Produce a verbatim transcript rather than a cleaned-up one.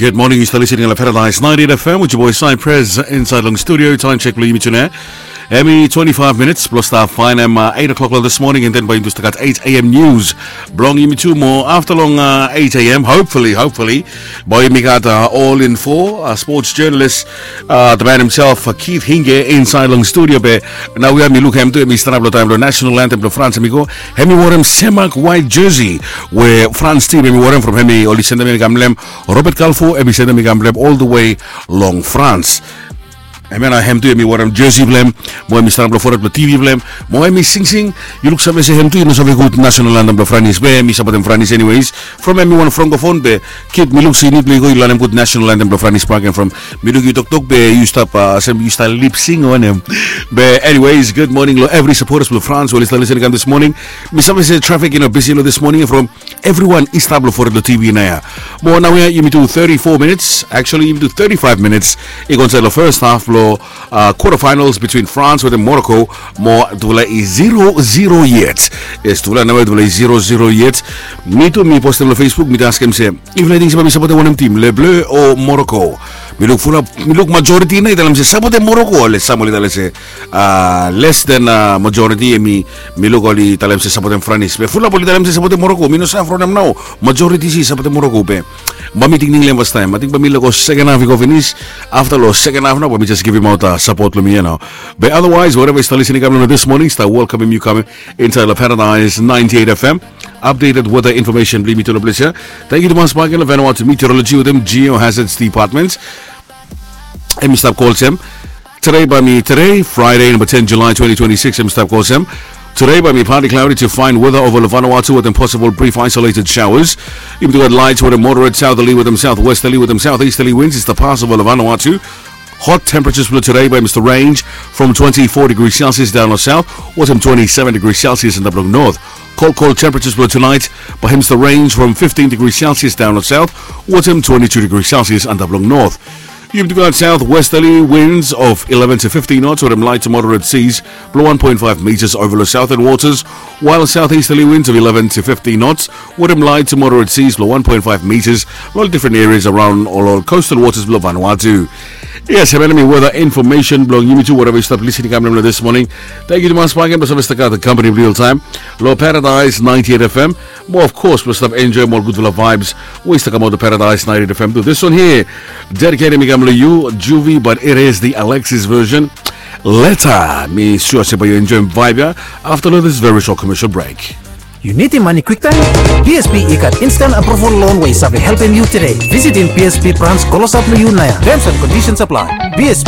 Good morning, yu stap listening long Paradise ninety-eight F M with your boy Cypress inside long studio. Time check blong yumi tune. Hemi twenty-five minutes blong stap faenem eight o'clock long this morning, and then bae yumi tu stap gat eight a.m. news blong yumi tu mo afta long eight a.m., hopefully, hopefully bae yumi gat all info, sports journalist, the man himself, Keith Hinge, inside long studio. Be naoia mi luk hem tu, hemi stanap long taem blong national anthem blong France hemi go. Hemi worem semak white jersey we France team hemi worem from hemi oli sendem hemi kam long hem. Robert Kalfo hemi sendem hemi kam long hem all the way long France. Hemia nao hem tu hemi worem jersey blong hem mo hemi stanap long fored blong T V blong hem mo hemi singsing. Yu luksave se hem tu i no save gud national anthem blong France, be mi sapotem France anyways. From hemi wan francophone, be Keith, mi luk se yu nid blong yu go yu lanem gud national anthem blong France bakegen from mi luk yu toktok, be yu stap olsem yu stap lip sing wanem. Be anyways, good morning long evri supporters blong France we oli stap listening kam this morning. Mi save se traffic i no bisi long this morning from evriwan i stap long fored long T V naoia. Mo naoia yumi tu thirty-four minutes, actually yumi tu thirty-five minutes i go insaed long first half blong quarter finals between France wetem Morocco. Mo tufala i zero zero yet. Yes, tufala naoia tufala i zero zero yet. Mi tu mi postem long Facebook, mi tu askem se yufala i ting se bae mi sapotem wanem tim, Le Bleu o Morocco. Mi luk fulap, mi luk majority nao i talem se sapotem Morocco, ale sam oli talem se less than majority, hemi mi luk oli talem se sapotem France, be fulap oli talem se sapotem Morocco. Mi no save from hem nao. Majority se i sapotem Morocco, be bae mi tingting long hem fastaem. Ating bae mi lego second half i go finis. Afta long second half nao bae mi jes givimaot sapot blong mi ia nao. Be otherwise, wherever yu stap listening kam long this morning, stap welkamem yu kam insaed long Paradise ninety-eight F M. Updated weather information blong yumi tu long ples ia. Tangkiu tumas bakegen long Vanuatu Meteorology wetem Geohazards Department. Hemi stap go olsem. Tede bae mi, tede Friday, namba ten July twenty twenty-six, hemi stap go olsem. Tede bae mi partly cloudy to fine weather over long Vanuatu wetem possible brief isolated showers. Yumi tu gat light wetem moderate southerly wetem southwesterly wetem southeasterly winds i stap pas over long Vanuatu. Hot temperatures blong tede bae hemi stap range from twenty-four degrees Celsius daon long south wetem twenty-seven degrees Celsius antap long north. Cold, cold temperatures blong tonight bae hemi stap range from fifteen degrees Celsius daon long south wetem twenty-two degrees Celsius antap long north. Yumi tu gat southwesterly winds of eleven to fifteen knots wetem light to moderate seas blong one point five meters over long southern waters, while southeasterly winds of eleven to fifteen knots wetem light to moderate seas blong one point five meters long different areas around ol coastal waters blong Vanuatu. Yes, hemia nao hemi weather information blong yumi tu, wherever yu stap listening kam long this morning. Tangkiu tumas bakegen blong save stap gat the company blong yu oltaem long Paradise ninety-eight F M. Mo of course blong stap enjoem ol gudfala vibes we i stap kamaot long Paradise ninety-eight F M tu. This one here, dedicated mi kam long yu, Juvie, but it is the Alexis version. Leta, mi sua se bae yu enjoem vibe ia afta long this very short commercial break. Yu nidim mane kwiktaem? P S B i gat instant approval loan we i save helpem yu tede. Visitim P S B brans klosap long yu naoia. Terms and conditions apply. P S B